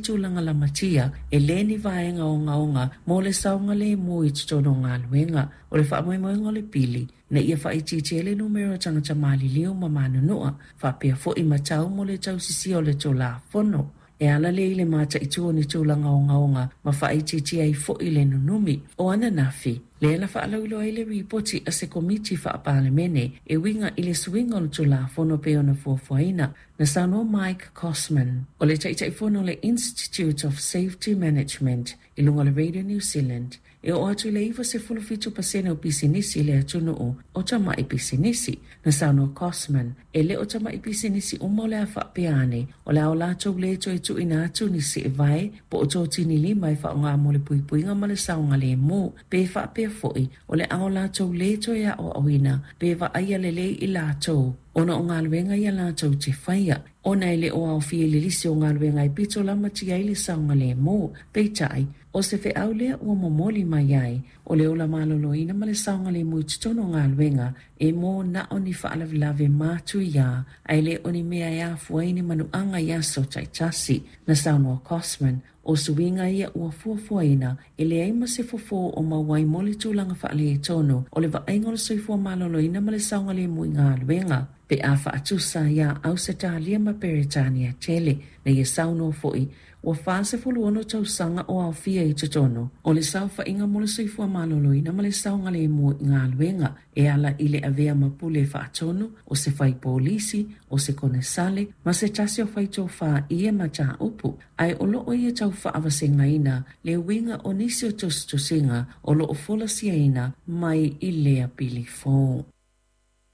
tulaga lamatia, e le ni vaega ogaoga mo le saogalemu i totonu o galuega. O le faamoemoega o le pili, ina ia faaitiitia ai le numera o tagata maliliu ma manunua, faapea foi ma tau mo le tausisia o le Tulafono. E ala lea i le mataitu o ni tulaga ogaoga ma faaitiitia ai foi le nunumi. O ananafi, lea na faalauiloa ai le ripoti a se Komiti Faa-Palemene e uiga i le suiga o le Tulafono pei ona fuafuaina. Na saunoa Mike Cosman, o le Taitaifono o le Institute of Safety Management i luga o le Radio New Zealand, e oo atu i le 97% o pisinisi i le atunuu o tamai pisinisi. Na saunoa Cosman, e le o tamai pisinisi uma o le a faapea ane, o le a o latou le toe tuuina atu ni seevae po o totini lima e faaaoga mo le puipuiga ma le saogalemu, pe faapea foi o le a o latou le toe aoaoina pe vaaia lelei i latou ona o galuega ia latou te faia, ona e le o aofia i le lisi o galuega e pito lamatia ai le saogalemu. Peitai, o se feau lea ua momoli mai ai, o le ola maloloina ma le saogalemu i totonu o galuega e mō na o ni faalavelave matuia, ae le o ni mea e afua ai ni manuaga i aso taitasi. Na saunoa Cosman, o suiga ia ua fuafuaina e leai ma se fofo o maua ai mo le tulaga faaletonu o le vaaiga o le soifua maloloina ma le saogalemu i galuega, pe a faatusa iā Ausetalia ma Peretania tele. Na ia saunoa foi, ua 46 tausaga o aofia i totonu o le saofaiga mo le soifua maloloina ma le saogalemu i galuega, e ala i le avea ma pule faatonu o se fai polisi, o se konesale ma se tasi o fai tofā i ia mataupu, ae o loo ia tau faavasegaina le uiga o nisi o tusitusiga o loo folasiaina mai i lea pili fou.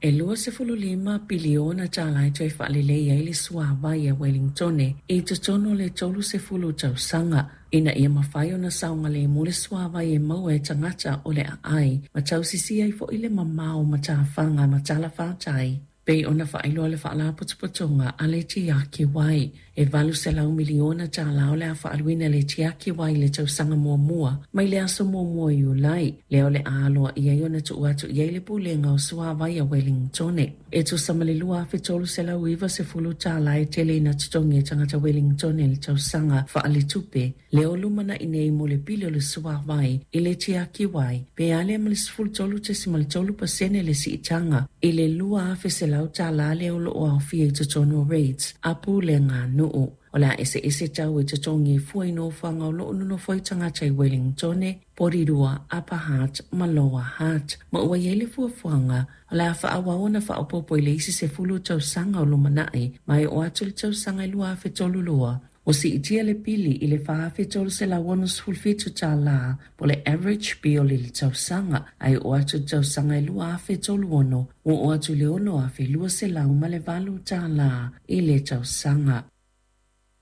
E 25 piliona tālā e toe faalelei ai le suāwai a Wellingtone i totonu o le 30 tausaga, ina ia mafai ona saogalemu le suāwai e maua e tagata o le aai ma tausisia ai foi le mamao o matafaga ma talafātai. Pei ona faailoa le Faalapotopotoga a le Tiaki Wai, e $800 miliona tālā o le a faaaluina e le Tiaki Wai i le tausaga muamua mai le aso 1 o Iulai, lea o le a aloaia ai ona tuu atu i ai le Pulega o Suāwai a Wellingtone. E tusa ma le $2,390 e tele ina totogi e tagata Wellingtone i le tausaga faaletupe lea o lumanai nei mo le pili o le suāwai i le Tiaki Wai, pe a lea ma le 13.3% le siitaga i le $2,100 lea o loo aofia i totonu o rates a pulega nuu. O le a eseese tau e totogi e fua i nofoaga o loo nonofo ai tagata i Wellingtone, Porirua, Upper Hutt ma Lower Hutt, ma ua i ai le fuafuaga o le a faaauau ona faaopoopo i le isi 10 tausaga o lumanai, ma e oo atu i le tausaga e 2032 ua siitia le pili i le $4,367 po o le average bill i le tausaga, ae oo atu i le tausaga e 2036 ua oo atu i le $6,208 i le tausaga.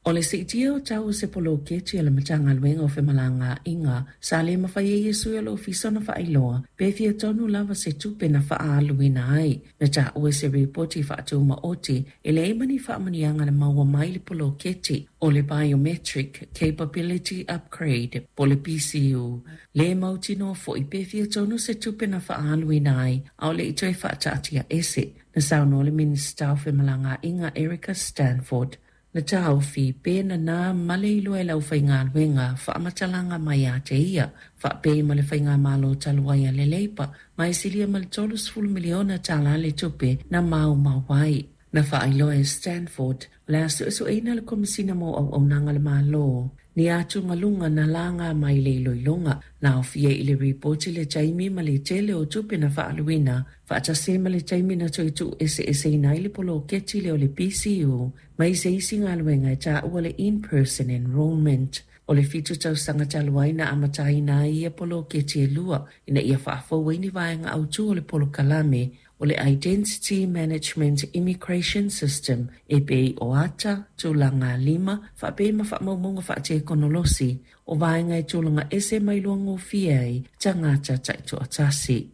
O le siitia o tau o se poloketi a le Matagaluega o Femalagaaiga sa le mafai ai e sui o le ofisa ona faailoa pe fia tonu lava se tupe na faaaluina ai. Na taua i se ripoti faatumaoti e leai ma ni faamanuiaga na maua mai le poloketi o le Biometric Capability Upgrade po o le BCU. Le mautinoa foi pe fia tonu se tupe na faaaluina ai a o le i toe faataatia ese. Na saunoa le Minisita o Femalagaaiga Erica Stanford, Na taofi pe nanā ma le iloa e le aufaigaluega faamatalaga mai ia te ia, faapei ma le faigamalo talu ai a le Leipa, ma e silia ma le $30 miliona tālā le tupe na maumau ai. Na faailoa e Stanford, o le a suesueina le Komesina mo Auaunaga a le Malo ni atugaluga na laga mai le iloiloga. Na aofia i le ripoti le taimi ma le tele o tupe na faaaluina, faatasi ai ma le taimi na toe tuueseeseina ai le poloketi lea o le BCU mai se isi galuega e taua le in-person enrolment. O le 7 tausaga talu ai na amataina ai ia poloketi e lua ina ia faafou ai ni vaega autū o le polokalame o le Identity Management Immigration System e pei o ata, tulaga lima, faapea ma faamaumauga faatekonolosi o vaega e tulaga ese ma iloa gofie ai tagata taitoatasi.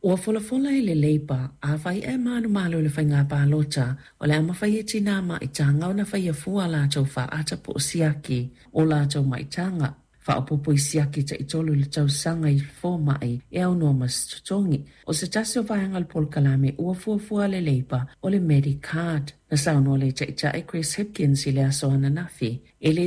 Ua folafola e le Leipa, afai e manumalo i le faiga palota, o le a mafai e tinā maitaga ona faia fua a latou faata po o siaki o latou maitaga. Faaopoopo i siaki taitolu i le tausaga i fomai e aunoa ma se totogi. O se tasi o vaega o le polokalame ua fuafua a le Leipa o le Medicard. Na saunoa le Taitai Chris Hipkins i le aso ananafi, e le